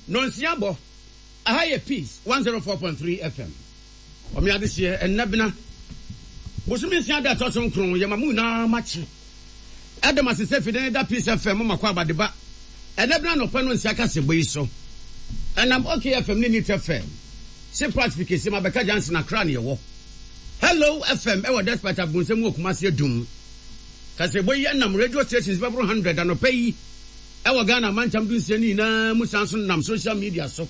Nonsia bɔ, Aha yɛ Peace 104.3 FM. Ɔme adehyeɛ ɛnnɛ bena. Bosome nsia da ɛtɔ so nkron yɛma mo nyinaa makye. Ɛda mo ase sɛ fide ne da Peace FM mo makɔ abadeba. Ɛnnɛ bena anɔpa nonsia kasebɔ yi so. Ɛnam OK FM ne Neat FM. Se Pratt fi kese ma bɛka Johnson Accra ne yɛwɔ. Hello FM ɛwɔ Despite Abonsam wɔ Kumasi Adum. Kasebɔ yi ɛnam radio stations bɛboro 100 anɔpa yi. Ɛwɔ Ghana amantam dunsia no nyinaa mu san nso nam social media so.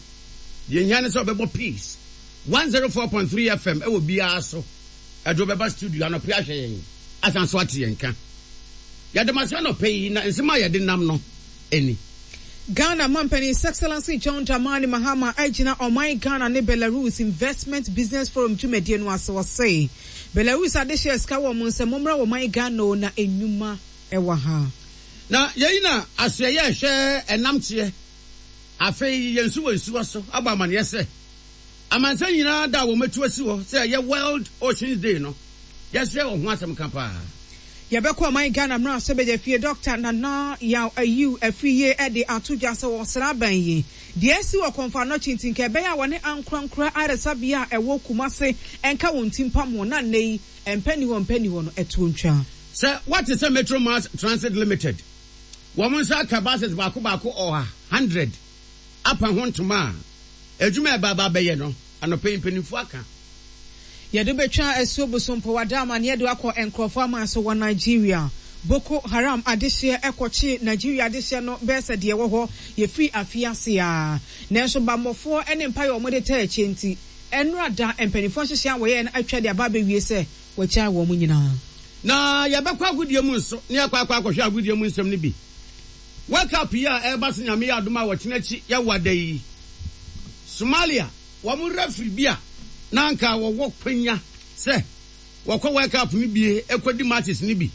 Deɛ ehia ne sɛ ɔbɛbɔ Peace 104.3 FM ɛwɔ biara so. Ɛde wo bɛba studio anɔpa yi ahwɛ yɛn asan nso ate yɛn nka. Yɛda mo ase anɔpa yi na nsɛm a yɛde nam no ni. Ghana Mampanin His Excellency John Dramani Mahama agyina ɔman Ghana ne Belarus Investment Business Forum dwumadie no ase. Ɔse Belarus adehyeɛ sika wɔ wɔn nsam, mommra ɔman Ghana o na nnwuma wɔ ha. Na yei na asoɛeɛ a ɛhwɛ ɛnam teɛ. Afei yɛn nso wɔ nsuwa so abɔ amaneɛ sɛ, amansan nyinaa da a wɔatu asi hɔ sɛ ɛyɛ World Oceans Day no, yɛsrɛ wɔ ho asɛm ka paa. Yɛbɛkɔ ɔman Ghana mmarahyɛbadwafie Dɔkta Nana Yaw Ayew Afriyie de ato dwa sɛ wɔ sraban yi, deɛ asi wɔ Komfo Anokye nti nka ɛbɛyɛ a wɔne ankorankora ayaresabea a ɛwɔ Kumase nka wɔn ti mpam ho na nnɛ yi Mpɛ nni hɔ mpɛ nni hɔ no ɛtoɔ ntwa. Sɛ woate sɛ Metro Mass Transit Limited wɔn nsa aka buses baako baako ɔha, hundred, apa ho ntoma a, adwuma a ɛba aba abɛyɛ no, anɔpa yi mpanimfoɔ aka. Yɛde betwa asuo Bosompo wada amaneɛ de akɔ nkorɔfoɔ aman so wɔ Nigeria. Boko Haram adehyeɛ kɔkye Nigeria adehyeɛ no bɛyɛ sɛ deɛ ɛwɔ hɔ yɛfiri afe ase ara. Nanso bammɔfoɔ ne mpaeɛ a wɔde taa akyire nti, Ɛnnora da, mpanimfoɔ nhyehyɛe a wɔyɛeɛ no atwa de aba abɛwie sɛ wɔagyae wɔn nyinaa. Na yɛbɛkɔ agodie mu nso na yɛakɔ akɔ akɔhwɛ agodie mu nsɛm no bi. World Cup yi a ɛreba so Nyame yɛ adom a ɔkyena akyi yɛwa da yi, Somalia wɔn referee bi a na anka wɔwɔ kwanya sɛ wɔkɔ World Cup no bie kɔdi matches no bi.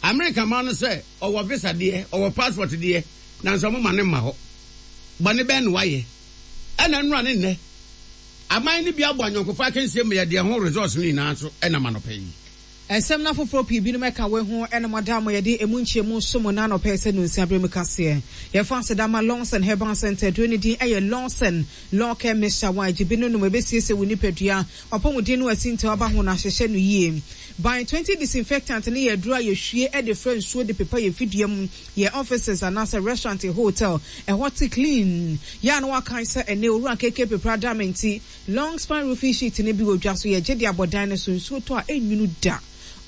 America man no sɛ ɔwɔ visa deɛ, ɔwɔ passport deɛ, nanso wɔmma no mma hɔ. Bɔne bɛn na wayɛ? Ɛna nnora ne nnɛ, aman no bi abɔ ayɔnkofa akansie ma yɛde ɛho results no nyinaa nso nam anɔpa yi. Nsɛm no afoforɔ pii binom ɛka wei ho ɛna mo ada mo yɛde ɛmu nkyɛmu som mo nnɛ anɔpa yi sɛ nonsia berɛ mu kaseɛ. Yɛfa aseda ma Lawson Herbal Center aduro no din ɛyɛ Lawson Law Care Mixture wa gye bi no nom ɛbɛsiesie wo nipadua, wapɔmuden no asintaw aba ho na ahyehyɛ no yie. By 20 Disinfectant no yɛ aduro a yɛhwie de fra nsuo de pepa yɛn fidua mu Yɛ offices anaasɛ restaurant hotel ɛhɔ te clean yɛ a na wakae sɛ ɛnɛ owura KK Pepra da me nti long span roofing sheet no bi wɔ dwa so yɛgye de abɔ dan no so nsuo tɔ a ɛnwunu da.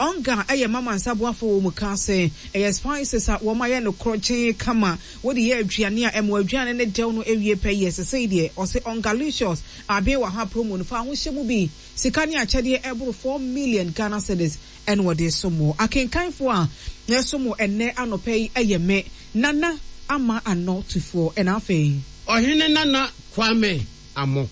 Onga ɛyɛ mama nsa boafo wɔ mukaase ɛyɛ spices a wɔn ayɛ no korɔgyee kama wode yɛ aduane a ɛma w'aduane no dɛw no ɛwie pɛ yɛ sesei deɛ ɔse Ongalicious aben wɔ ha promo no fa ho hyɛ mu bi sika ne akyɛdeɛ ɛboro 4 million Ghana cedis Ɛna wɔde resom wo. Akenkanfoɔ a yɛresom wo ɛnnɛ anɔpa yi yɛ me, Nana Ama Anɔ Tufoɔ, ɛna afei. Ɔhene Nana Kwame Amoh.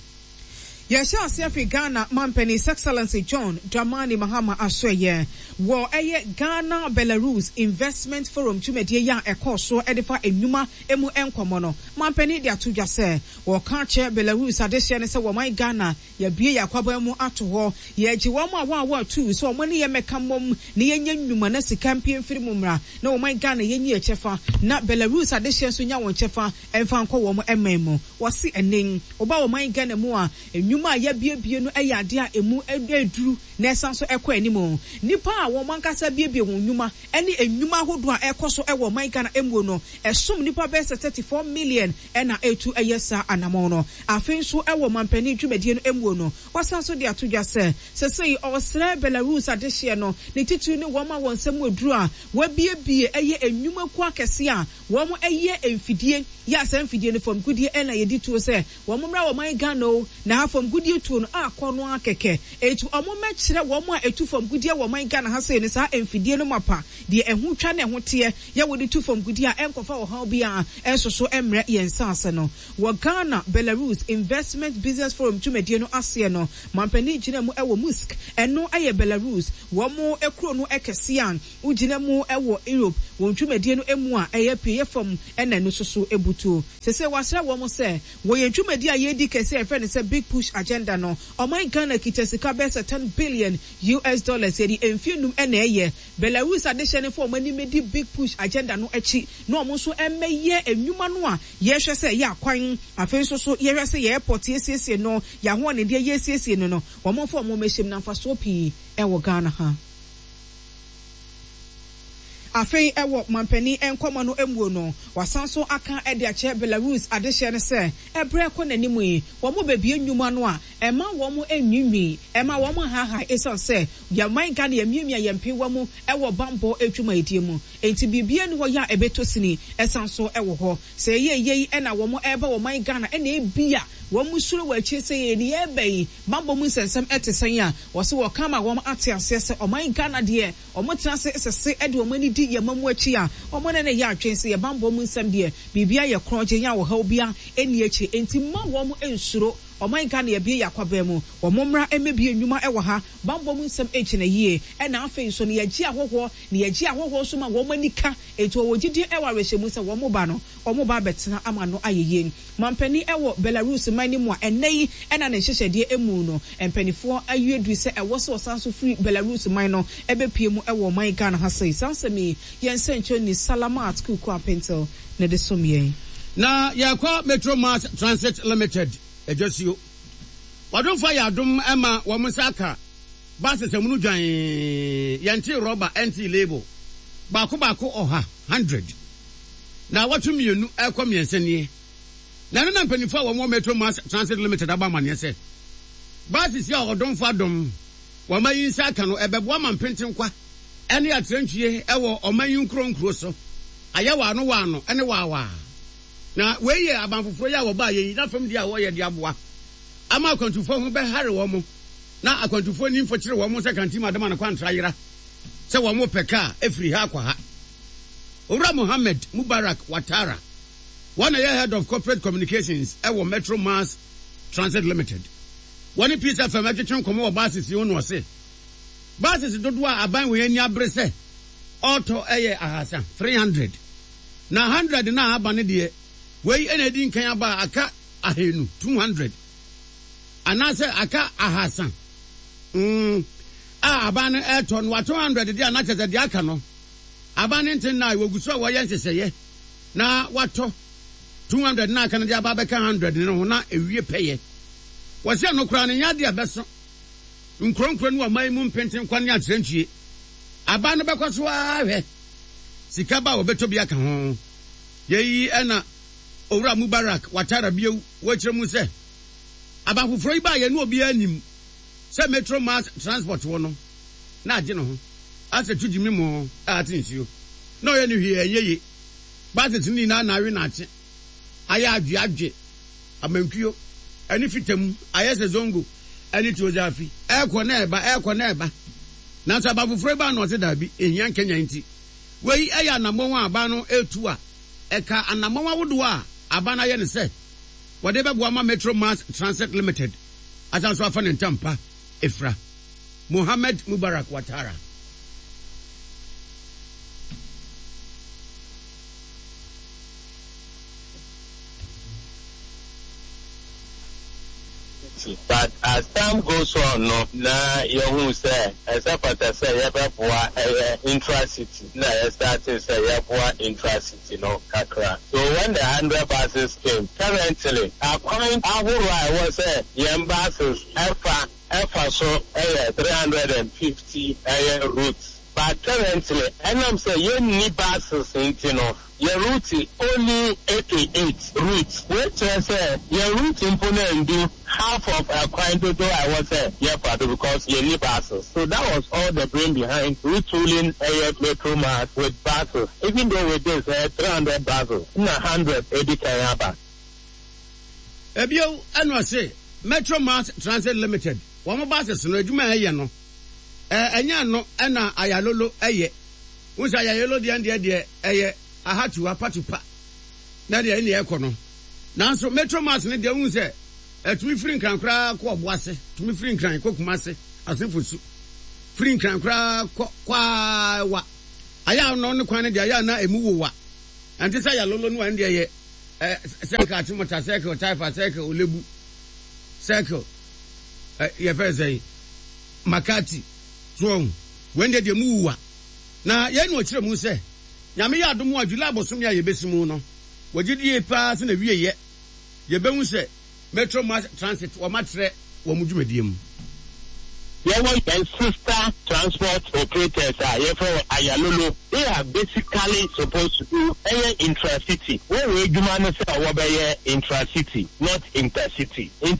Yɛhyɛ aseɛ firi Ghana Mampanin His Excellency John Dramani Mahama asoɛeɛ wɔ ɛyɛ Ghana Belarus Investment Forum dwumadie yi a ɛkɔɔ soɔ de fa nnwuma mu nkɔmmɔ no, Mampanin de ato dwa sɛ wɔka akyerɛ Belarus adehyeɛ no sɛ wɔman Ghana Yɛabue yɛn akwaban mu ato hɔ. Yɛregye wɔn a wɔawɔ atuu sɛ wɔn ne yɛn mmɛka mmom na yɛnyɛ nnwuma na sika mpue mfiri mu mmra na wɔman Ghana yɛnyi yɛn kyɛfa na Belarus adehyeɛ nso nya wɔn kyɛfa mfa nkɔ wɔn man mu. Wɔse ɛnnɛ yi woba wɔman Ghana mu a, nnwuma a yɛabuebue no yɛ adeɛ a ɛmu duru na ɛsan nso kɔ anim. Nnipa a wɔn ankasa abuebue wɔn nnwuma ne nnwuma ahodoɔ a ɛrekɔ so wɔ ɔman Ghana mu no, ɛsom nnipa bɛyɛ sɛ 34 million na ɛretu yɛ saa anamɔn no. Afei nso wɔ ɔmanpanin dwumadie no muo no, wasan nso de ato dwa sɛ, sesei ɔresrɛ Belarus adehyeɛ no, ne titiriw ne wɔn a wɔn nsa mu aduru a wɔabuebue yɛ nnwumakuo akɛseɛ a wɔyɛ mfidie yɛ a saa mfidie no famgudeɛ na yɛdi tuo sɛ wɔn mmra ɔman Ghana o, na ha famgudeɛ tuo no akɔ no ara kɛkɛ. Enti wɔn mmɛkyerɛ wɔn a ɛtu famgudeɛ wɔ ɔman Ghana ha sei no saa mfidie no mapa, deɛ ɛho twa na ɛho teɛ yɛ wɔde tu famgudeɛ a ɛnkɔfa ɔhaw biara nsoso mmrɛ yɛn nsaase no. Wɔ Ghana Belarus Investment Business Forum dwumadie no aseɛ no, mampanin gyina mu wɔ Musk, ɛno yɛ Belarus wɔn kuro no kɛseɛ a wogyina mu wɔ Europe wɔn dwumadie no mu a ɛyɛ apueɛ fam na ɛno nso so butuo. Seesei wɔasrɛ wɔn sɛ wɔ yɛn dwumadie a yɛredi kɛseɛ a yɛfrɛ no sɛ Big Push. Agenda no, ɔman Ghana kita sika bɛyɛ sɛ 10 billion US dollars, yɛde mfeɛ num na ɛyɛ. Belarus adehyɛ no mfa wɔn ani mmɛdi Big Push Agenda no akyi na wɔn nso mmɛyɛ nnwuma no a yɛhwɛ sɛ ɛyɛ akwan, afei nso so yɛhwɛ sɛ yɛn airport yɛsiesie no, yɛn ahoɔdendeɛ yɛsiesie no no, wɔn mfa wɔn mmɛhyɛ mu na mfasoɔ pii wɔ Ghana ha. Afei wɔ mampanin nkɔmmɔ no muo no, wasan nso aka de akyerɛ Belarus adehyeɛ no sɛ ɛberɛ rekɔ n'anim yi, wɔbɛbue nnwuma no a ɛmma wɔn nnwiinwii, ɛmma wɔn nhaahae esiane sɛ yɛn man Ghana yɛmiamia yɛn mpeewa mu wɔ bammɔ adwumayɛdie mu nti biribiara nni hɔ yɛ a ɛbɛtɔ sini san nso wɔ hɔ. Sɛ ɛyɛ yei na wɔn reba wɔ man Ghana na ebia wɔn suro wɔ akyire sɛ yɛn yɛreba yi bammɔ mu nsɛnsɛm te sɛn a, wɔse wɔka ama wɔn ate aseɛ sɛ ɔman Ghana deɛ Wɔtena ase sese de wɔn ani di yɛn mma mu akyi a, wɔne no yɛ adwene sɛ yɛn bammɔ mu nsɛm deɛ, biribiara yɛ korɔngyenn a ɔhaw biara nni akyire. Enti mma wɔn nsuro. Ɔman Ghana yɛabue yɛn akwaban mu. Wɔn mmra mmɛbue nnwuma wɔ ha. Bammɔ mu nsɛm gyina yie. Ɛna afei nso no, yɛgye ahɔhoɔ, na yɛgye ahɔhoɔ nso ma wɔn ani ka. Enti wɔwɔ gyidie wɔ awerɛhyɛmu sɛ wɔn ba no, wɔba abɛtena ama no ayɛ yie. Mampanin wɔ Belarus man no mu a ɛnnɛ yi na ne nhyehyɛdeɛ mu no, mpaninfoɔ ayi aduru sɛ ɛwɔ sɛ ɔsan nso firi Belarus man no bɛpue mu wɔ ɔman Ghana ha sei. Saa nsɛm yi, yɛn nsɛnkyerɛnni Salamat Kuku Apentel na ɛde som yɛn. Na yɛrekɔ Metro Mass Transit Limited adwasuo. W'adomfoɔ ayɛ adom ma wɔn nsa aka buses amunu dwann, yɛntee rɔba ɛntee label, baako baako ɔha, hundred. Naawɔtwe mmienu rekɔ mmiɛnsa nie na ɛno na mpanyinfoɔ a wɔn wɔ Metro Mass Transit Limited abɔ amaneɛ sɛ buses yi a ɔdomfo adom wɔn ayi nsa aka no ɛbɛboa ma mpentenkwa ne atrantwie wɔ ɔman yi nkuro nkuro so ayɛ waano waano ne waawaa. Na wei yɛ aban foforɔ yi a wɔbaeɛ yi n'afam deɛ a wɔyɛ de aboa ama akwantufoɔ ho bɛhare wɔn na akwantufoɔ nni mfokyere wɔn sɛ kantim adama no kwantra yera sɛ wɔn repɛ kaa afiri ha akɔ ha. Owura Mohammed Mubarak Watara, wɔn na ɛyɛ Head of Corporate Communications wɔ Metro Mass Transit Limited. Wɔne Peace FM twetwe nkɔmmɔ wɔ buses yi ho na ɔse, Buses dodoɔ a aban wei ani abere sɛ ɔretɔ yɛ ahasa, 300, na 100 no a aba no deɛ, wei na adi nkan aba a aka ahanu, 200, anaasɛ aka ahasa mm, a aban no retɔ no, watɔ 100 deɛ a na kyerɛ sɛ deɛ aka no, Aba no nte nna a wɔgu so a wɔyɛ nhyehyɛeɛ na wɔatɔ 200 no a aka no de aba abɛka 100 no ho na ɛwie pɛyɛ. Wɔse ɛno koraa no nyɛ adeɛ a ɛbɛso nkuro nkuro ne ɔman yi mu mpentenkwa ne akyerɛntwie. Aba no bɛkɔ so ara ahwɛ sika ba a wɔbɛtɔ bi aka ho. Yei na Owura Mubarak Watara bio wɔ kyerɛ mu sɛ aba foforɔ yi baeɛ no obiara nnim sɛ Metro Mass Transport wɔ no na agye ne ho. Asɛ tu gyimi mo a ate nsuo na ɔyɛ no hwee ɛnyɛ ye buses no nyinaa na awe na akye ayɛ adwe adwe amankuo ɛne fita mu ayɛ sɛ zongo ɛne tuozafi ɛkɔ na ɛba ɛkɔ na ɛba nanso aba foforɔ yi baa na ɔse daabi ehia nkanyan nti wei ɛyɛ anamɔn a aba no ɛtu a ɛka anamɔn ahodoɔ a aba no ayɛ ne sɛ wɔde bɛboa ma Metro Mass Transit Limited asan so afa ne ntampa efira. Mohamed Mubarak Ouattara. But as time goes on no na yɛhuu sɛ ɛsɛ fata sɛ yɛbɛboa ɛyɛ intra city na yɛ startee sɛ yɛboa intra city no kakra. So when the hundred buses came, currently akwan ahorow a ɛwɔ sɛ yɛn buses ɛfa ɛfa so yɛ 350 ɛyɛ routes but currently ɛnam sɛ yɛnni buses nti no yɛ route only 88 routes wei kyerɛ sɛ yɛn route mpo no andu half of ɛkwan dodoɔ a ɛwɔ sɛ yɛfa do because yɛnni buses so that was all the brain behind retooling ɛyɛ metro mass with buses even though with this ɛyɛ 300 buses na 100 edi kan aba. Ebio ɛna ɔse Metro Mass Transit Limited wɔn buses no adwuma a ɛyɛ no ɛnyɛ ɛno ɛna Ayalolo ɛyɛ. Wohu sɛ Ayalolo deɛ ɛndeɛ deɛ ɛyɛ ahatu apatu pa na deɛ ɛne ɛkɔ no. Nanso Metro Mass no deɛ wohu sɛ ɛtumi firi Nkran koraa kɔ Ɔboase, tumi firi Nkran kɔ Kumase, Asenfosu, firi Nkran koraa kɔ Kwaawa. Ayɛ a no ne kwan no deɛ ayɛ a na ɛmu wowa. Ɛnte sɛ Ayalolo no a ɛndeɛ ɛyɛ Circle Achimota, Circle Taifa, Circle Olebu, Circle. Yɛfrɛ sɛn? Makati. So wahu? Wei deɛ deɛ mu wuwa. Na yei na ɔkyerɛ mu sɛ, Nyame yɛ adom a, July bosome a yɛbɛsi mu no, wɔgye die paa sɛ n'awieɛ yɛbɛhu sɛ Metro Mass Transit wɔatrɛ wɔn dwumadie mu. Yɛwɔ yɛn sister transport operators a yɛfrɛ wɔn Ayalolo, they are basically supposed to do ɛyɛ intra-city. Wɔn adwuma ne sɛ wɔbɛyɛ intra-city not inter-city. Nti.